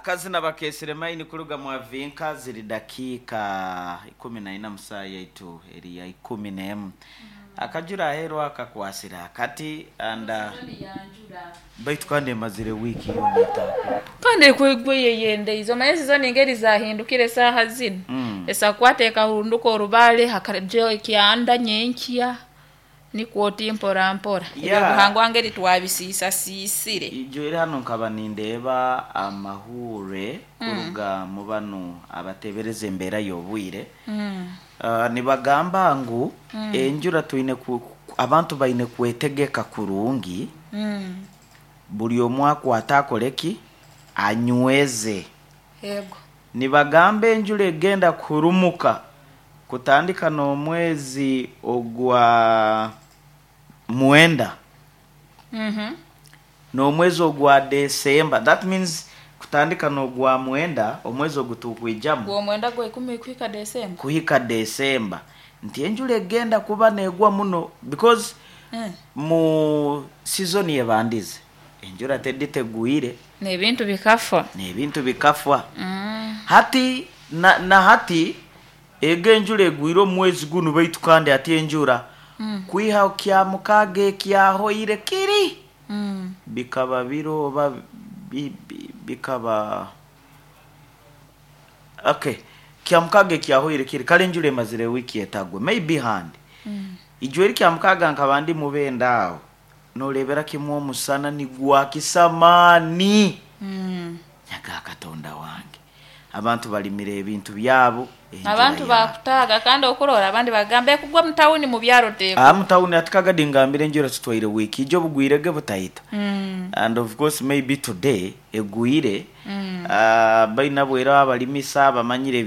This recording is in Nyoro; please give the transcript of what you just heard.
Akazina bakesire maini kuruga mwavinka ziri dakiika 14 musaa yaitu eri ya 11. Akajura aheeru akakwasire akati and baitu kandi emazire wiiki yoona etaakura. Kandi ekwegwa eyeyendeize omanye sizoni engeri zahindukire esaaha zinu. Esakukwata ekahunduka orubaale hakajaho ekyanda nyenkya nikwo oti mpora mpora. Ebyobuhangwa ngeri twabisiisasiisire. Ijo eri hanu nkaba nindeeba amahuure kuruga mu banu abateebereza embeera y'obwire. Nibagamba ngu enjura twine abantu baine kwetegeka kurungi. Buri omwe akwate akore ki? Anyweze. Yego. Nibagamba enjura egenda kuhurumuka kutandika n'omwezi ogwa 9 n'omwezi ogwa December. That means kutandika n'ogwa 9 omwezi ogu tukwijamu. Gw'omwenda gwa 10 kuhika December. Kuhika December. Nti enjura egenda kuba negwa muno because mu season ebandize enjura teditegwire. N'ebintu bikafa. N'ebintu bikafa. Hati na hati ego enjura egwire omu mwezi gunu baitu kandi hati enjura kwiha kya mukaaga ekyahoire kiri bikaba biro oba bikaba okay kya mukaaga ekyahoire kiri kare enjura emazire wiiki etagwa maybe handi. Ijo eri kya mukaaga nkaba ndi mubenda aho noreebera kimwe omusana nigwakisa amaani. Nyaga Katonda wange. Abantu balimire ebintu byabo. Abantu bakutaaga kandi okurora abandi bagamba ekugwa mu tawuni mu byaro teekugwa. Aha mu tawuni hati kagadi ngambire enjura tutwaire wiiki ijo bugwirege butahita. And of course maybe today egwire. Baine abwire abalimisa bamanyire.